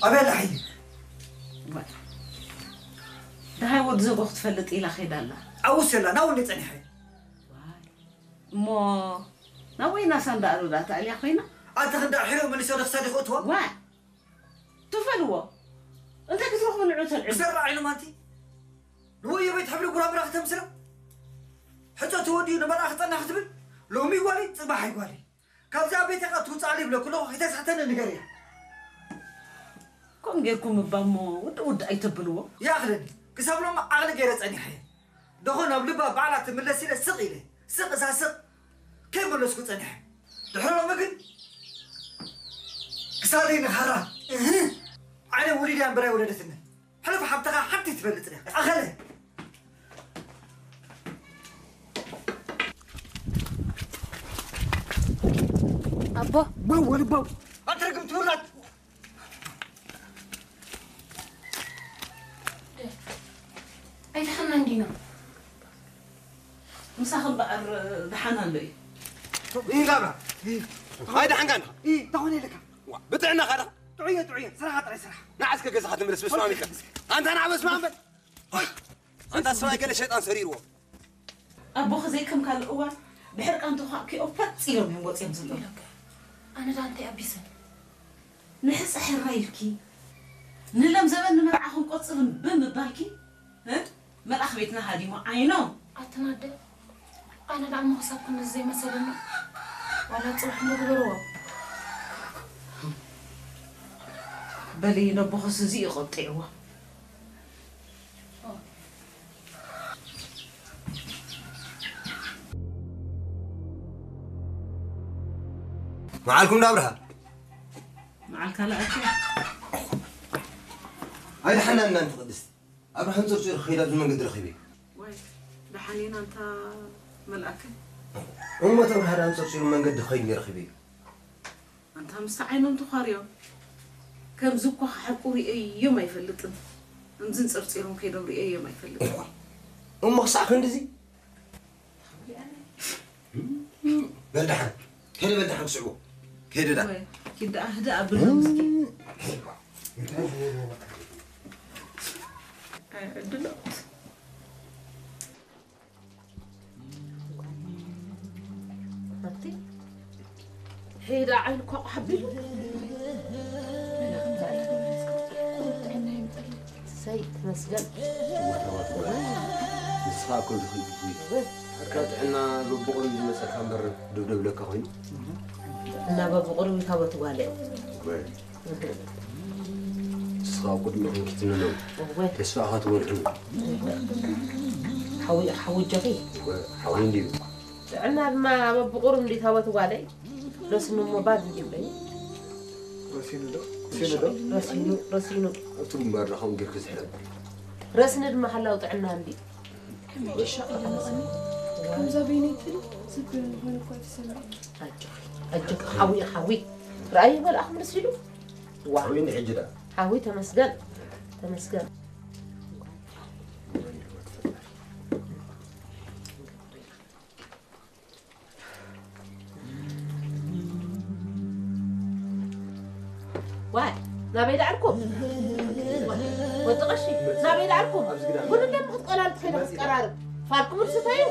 ኣበይ ኣላ ሓይሊ? ዋ፣ ደሃይ ወዲ ዘቦ ክትፈልጥ ኢላ ከይዳ ኣላ። ኣብኡ የላን፣ ኣብኡ እንድየ ጸኒሐ። ዋይ፣ እሞ ናብ ወይና ሳንዳ ኣሉላ ተኣልያ ኮይና? ኣቲ ክንዳ ሒሮ መሊሶ ዶ ክሳዲ ክእትዋ? ዋ፣ ትፈልዎ? እንታይ ክትረኽቡ ንዑ ተልዕሉ? ክሰርዕ ዓይኑ ማንቲ? ንወዮ ቤት ሕብሪ ጉራምራ ክተምስላ? ሕቶ ተወዲኡ ንመርዓ ክጸና ክትብል? ሎሚ ጓሊ፣ ጽባሕ ኣይጓሊ። ካብዛ ቤት ኢኻ ትውጻእ ይብለኩ ኣለኹ፣ ከይተሳሕተኒ ንገርያ። ከምኡ ጌርኩም እባ እሞ ውድእ ውድእ ኣይተብልዎ። ይኣኽለኒ። ክሳብ ሎሚ ዓቕሊ ገይረ ጸኒሐ እየ። ደኾን ኣብ ልባ ባዕላ ትምለስ ኢለ ስቕ ኢለ፣ ስቕ እዛ ስቕ ከይመለስኩ ጸኒሐ። ድሕሪ ሎሚ ግን ክሳደይ ንኻራ፣ እህ፣ ዓይነ ውሊድ እያ እምበር ኣይወለደትኒ። ሕሉፍ ሓብትኻ ሓንቲ ትፈልጥ ዲኻ? ኣኸለ። ኣቦ። ባው ወልባው። ኣትረግም ትውላድ። ኣይደሓና እንዲና። ምሳኺ እምበኣር ደሓን ኣሎ እዩ። ይንጋብራ። ኣይደሓንካን ኢኻ? እንታይ ኮነ ኢልካ? ዋ፣ ብጥዕናኻ ዳ? ጥዑየ፣ ጥዑየ። ስራሓ ጥራይ ስራሕ። ንዓ እስከ ገዛኻ ትምለስ፣ በስመ ኣብ ኢልካ። ኣንታ ንዓ በስመ ኣብ በል። ኣንታ ሰብኣይ ገለ ሸይጣን ሰሪርዎ። ኣቦኺ ዘይከም ካልእ እዋን ብሕርቃን ተዃዕኪኦም ፋጥ ኢሎም እዮም ወፂኦም ዘለዉ። ኣነ ዳ እንታይ ኣቢሰ? ንሕፀ ሕራይ ኢልኪ፣ ንለም ዘበን ንመርዓ ክንቆፅር እምቢ ምባልኪ፣ እ? መልኣኽ ቤትና ሃዲሙ ዓይኖም። ኣትናደ፣ ኣነ ደኣ ምኽሳብ ክንድዚ ዘይመሰለኒ። ዋላ ጽባሕ እንዶ ግበርዎ። በሊ ነቦኽስ እዚ እዩ ቆጢዕዎ። መዓልኩም ዳ ኣብርሃ? መዓልካ ለኣኪ። ኣይደሓናን ኣንቲ ቅድስቲ። ኣብርሃ ኣንጸርጺሩ ክኸይድ ኣብዚ መንገዲ ረኺበዮ። ዋይ፣ ደሓን ኢና ኣንታ መልኣከ። እሞ እቲ ኣብርሃ ደኣ ኣንጸርጺሩ መንገዲ ክኸይድ እየ ረኺበዮ። ኣንታ ምስቲ ዓይኖም ተዃርዮም። ከምዚ እኳ ክሓቁ ርእየዮም ኣይፈልጥን። ከምዚ ኣንጸርጺሮም ከይዶም ርእየዮም ኣይፈልጥን። እሞ ክሳዕ ክንድዚ? በል ደሓን። ከይደ በል ደሓን ክስዕቦ። ከይደ ዳ። ወይ፣ ኪድ ደኣ ህድእ ኣብሎም እስኪ። ኣይ፣ ዕድሎት። ኣቲ፣ ሄዳ ዓይኑ ኳቕ ሓቢሉ። እሰይ፣ ተመስገን። ንስኻ እኮ ድኽም ትትውይ። ኣካ ጥዕና በብቑሩብ ዝመጸካ እምበር ደብደብለካ ኮይኑ። እና በብቑሩብ ይታወት ጓለ። ወይ። ንስኻ ቅድሚ ክንክትንነው እወ። ተስፋኻ ትወልዕሉ። ሓዊ፣ ሓዊ ጀኺ። እወ፣ ሓዊ እንድዩ። ጥዕና ድማ በብቑሩብ እንዲ ታወት ጓለይ። ረስኑ እሞ ባድ እንዲ በይ። ረሲኑ ዶ? ረሲኑ ዶ? ረሲኑ፣ ረሲኑ። ኣብቲ ግንባር ዳ ከምኡ ጌርክ ዝሕረድ። ረስኒ ድማ ሓላው ጥዕና እንዲ። ከምዛ በይነይ ትል ዝብል ሆነ እኳ ተሰምዐ። ኣጆኺ፣ ኣጆኺ፣ ሓዊ፣ ሓዊ። ረኣይ መልኣኽ ምልስ ኢሉ። ዋ። ሓዊ እንዲ ሕጂ ዳ? ሓዊ ተመስገን፣ ተመስገን። ዋይ፣ ናበይ ደኣልኩም? ወዲ ቀሺ፣ ናበይ ደኣልኩም? ጉድ እንደ ምኽትቆላል ትኸይደ ክትቀራርብ። ፋልኩም ርስተዩ።